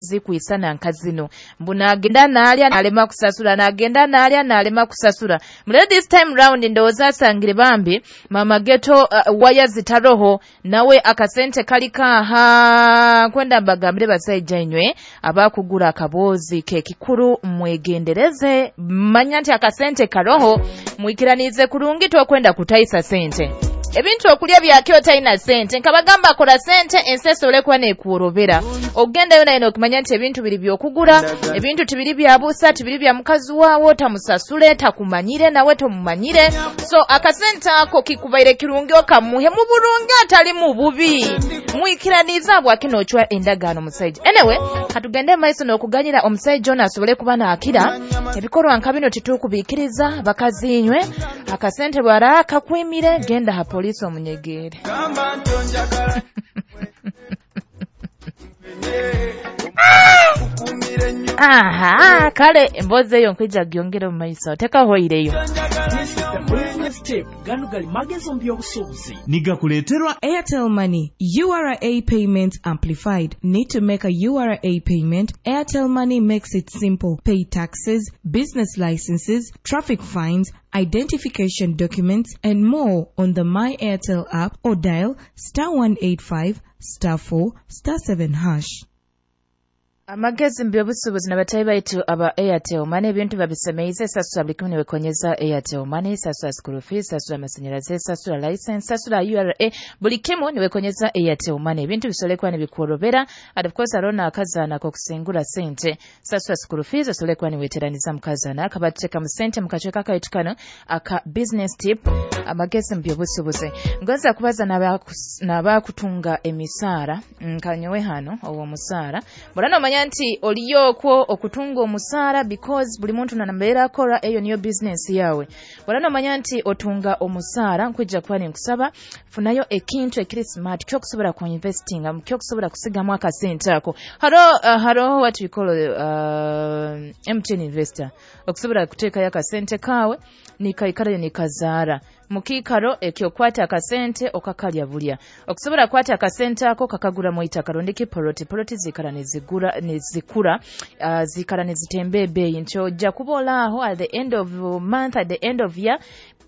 Zikwisana nka zino, mbu nagenda nalya nalema kusasula, nagenda nalya nalema kusasula. Mulero this time round ndowooza asangire bambi mama geto waya zitaroho, nawe akasente kali kaha. Kwenda mbagambire basaija inywe abakugura akaboozi kekikuru, mwegendereze, manya nti akasente karoho, mwikiranize kurungi, tokwenda kutaisa sente. Ebintu okulya byakyo talina sente, nkabagamba kola sente ensi esobole kuba nekuworobera. Ogendayo naye nokimanya nti ebintu biri byokugura, ebintu tibiri bya busa, tibiri bya mukazi waawo, tamusasule, takumanyire, nawe tomumanyire. So akasente ako kikubaire kirungi okamuhe mu bulungi atali mu bubi, mwikiraniza bwakino ocwa endagaano musajja. Anyway, katugende maiso n'okuganyira omusajja ono asobole kuba naakira ebikolwa nka bino. Titukubiikiriza bakazi inywe, akasente bwara kakwimire, genda ha polisi omunyegeere. Gamba nti onjagala kukumira ennyo. Aha, kale emboozi eyo nkwija gyongera omu maiso, tekahoireyo. Business tip gano gali magezi mu by'obusuubuzi. Nigakuleeterwa Airtel Money, URA Payment Amplified. Need to make a URA payment? Airtel Money makes it simple. Pay taxes, business licenses, traffic fines, identification documents, and more on the My Airtel app or dial *185*4*7#. Amagezi mu byobusuubuzi nabatayi baitu aba Airtel Money, ebintu babisemeize. Sasula buli kimu niwekonyeza Airtel Money: sasula school fees, sasula amasanyalaze, sasula license, sasula URA, buli kimu niwekonyeza Airtel Money. Ebintu bisobole kuba nibikworobera. And of course hariho n'akazaana k'okusingura sente, sasula school fees, osobole kuba niweteraniza mukazaana akabateeka mu sente. Mu kacweka kaitu kano aka business tip, amagezi mu byobusuubuzi, ngoza kubaza n'abakutunga emisaara nkanyowe hano ow'omusaara. Mbona nomanya nti oliyo okwo okutunga omusaara, because buli muntu nanambeera akora, eyo niyo business yawe. Mbona nomanya nti otunga omusaara, nkwijja kuba ninkusaba funayo ekintu ekiri smart kyokusobola ku investinga, kyokusobola kusigamu akasente ako. Haro what we call MTN Investor, okusobola kuteekayo akasente kaawe nikaikarayo nikazaara mukiikaro ekyokwata akasente okakalya bulya. Okusobola kwata akasente ako kakaguramu itaka rondiki poloti. Poloti zikara nezigura nezikura, zikara nezitemba ebeeyi, nti ojja kuba olaaho at the end of month, at the end of year,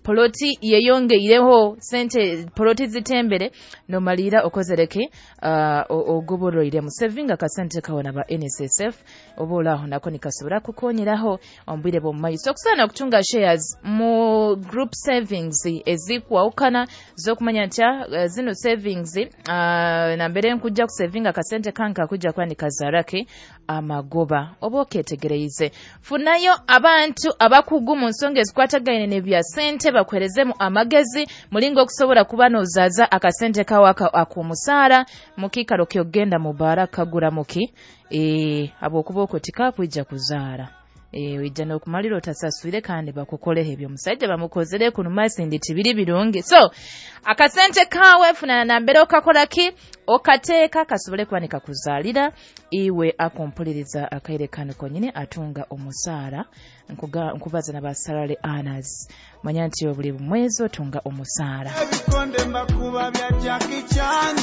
poloti yeyongeireho sente, poloti zitembere, nomalira okozereke ogoboroire musevinga akasente kawe naba NSSF, oba olaaho nako nikasobora kukonyeraho omu bwire bw'omu maiso. Okusaana okutunga shares mu group savings ezikwawukana z'okumanya nti zino savings nambere nkujja kusevinga akasente kange kakujja kuba nikazaarake amagoba. Oba oketegereize, funayo abantu abakugu mu nsonga ezikwatagaine n'ebya sente, bakuherezemu amagezi mulingo okusobola kuba nozaaza akasente kawe ak'omusaara mukiikaro kyogenda mu baara kagura muki habwokuba okwo tikakwija kuzaara. Ojja n'okumalira otasaswire kandi bakukoleho ebyo omusajja bamukozere kuno masindi tibiri birungi. So akasente kawe funana nambere okakola ki, okateeka kasobole kuba nikakuzaalira iwe akumpuliriza akaire kano konyini atunga omusaara. Nkubaza naba salary earners, manya nti buli mwezi otunga omusaara. Ebikonde mbakuba bya Jackie Chan.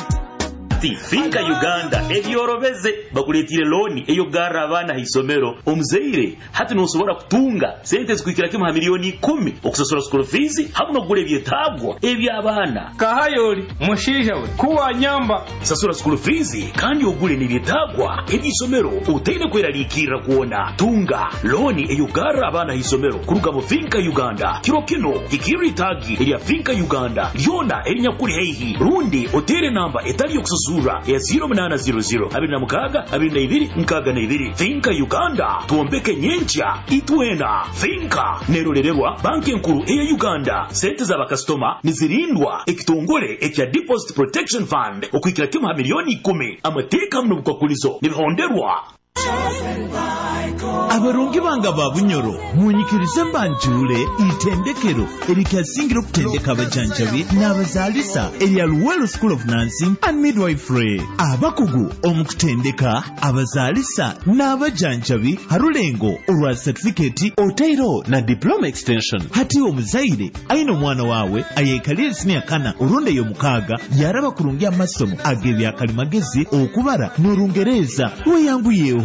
Ati Finka Uganda ebyorobeze, bakuleetire looni eyokugarra abaana ha isomero. Omuzaire hati nosobora kutunga sente zikuhikira kimu ha miliyoni 10 okusasura school fees hamu n'okugura ebyetaagwa eby'abaana. Kahayoli mushiija we kuwanyamba. Sasura school fees kandi ogule n'ebyetaagwa eby'isomero otaine kweraliikirra kwona. Tunga looni eyokugarra abaana ha isomero kuruga mu Finka Uganda. Kiro kino hikirra itaagi erya Finka Uganda lyona erinyakuli haihi, rundi oteere namba etali yokusasurra ya 0800 26 22 62. Finka Uganda, twombeke nyenkya itwena. Finka nerolererwa Banki Enkuru eya Uganda. Sente z'abakasitoma nizirindwa ekitongole ekya Deposit Protection Fund okuhikira kimu ha miliyoni 10. Amateeka hamu n'obukwakulizo nibihonderwa. Abarungi banga ba Bunyoro, munyikirize mbanjule itendekero erikyasingira okutendeka abajanjabi n'abazaalisa erya Luwero School of Nursing and Midwifery, abakugu omu kutendeka abazaalisa n'abajanjabi harulengo olwa certificate otairo na diploma extension. Hati omuzaire aine omwana wawe ayekalire siniya kana orundi ey'omukaaga, yaraba kurungi amasomo ag'ebyakalimagezi, okubara n'orungereza, weyanguyeho.